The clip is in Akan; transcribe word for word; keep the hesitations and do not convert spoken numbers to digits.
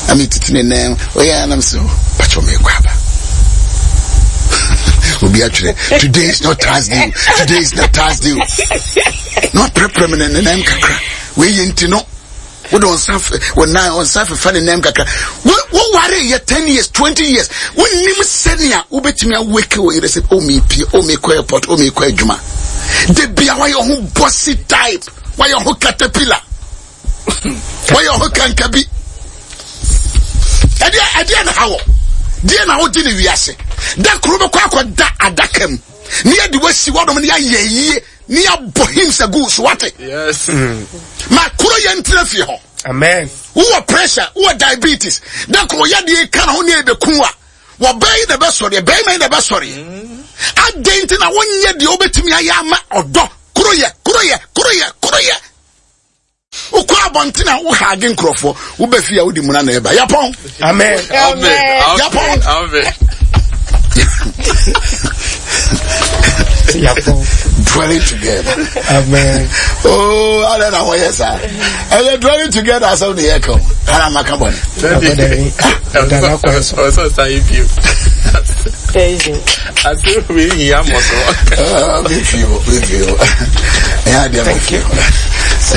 Na metiti ne nan ɔyɛ anam sɛ pakyɛ mekɔ aba. Obi atwerɛ, "Today is not Thursday, today is not Thursday." Na waprɛprɛ me ne ne nan kakra. Wei yɛ nti no wode wo nsa wo nan wo nsa fefa ne nan kakra. Wo woware yɛ ten years, twenty years, wonnim sɛnea wobɛtumi awake wo yere sɛ o mepie, o mekɔ airport, o mekɔ adwuma. Da bia wayɛ ho bossy type, wayɛ ho caterpillar, wayɛ ho kankabi. Ɛdeɛ ɛdeɛ na ha wɔ deɛ na wogye ne wiase da koro bɛkɔ akɔda adaka mu ne yɛde wasi wɔnom ne yɛayɛ yie ne yɛabɔ hymns agu so, wate? Yes. Ma koro yɛ ntena fie hɔ. Amen. Wowɔ pressure, wowɔ diabetes, da koro yɛdeɛ ka na ho ne yɛbɛku a wɔbɛn yi na ɛbɛsɔre, bɛrima yi na ɛbɛsɔre. Adɛn nti na wonyɛ deɛ wobɛtumi ayɛ ama ɔdɔ koro yɛ koro yɛ koro yɛ koro yɛ? Wokɔ abɔnten a wohaage nkurɔfoɔ, wobɛ fie a wode muna na ɛba yapɔn. Amen. Amen. Yapɔn. Amen. Yapɔn. Dwelling together. Amen. Oh, adɛn na wɔyɛ saa? Ɛyɛ dwelling together asɛm ne yɛka o ana maka bɔne? Dada kwan so. Ɔsɔ sa yi bio. Thursday. Ase wei hia mɔ so. Ah, mefi o, mefi o, ɛyɛ adeɛ mefi o.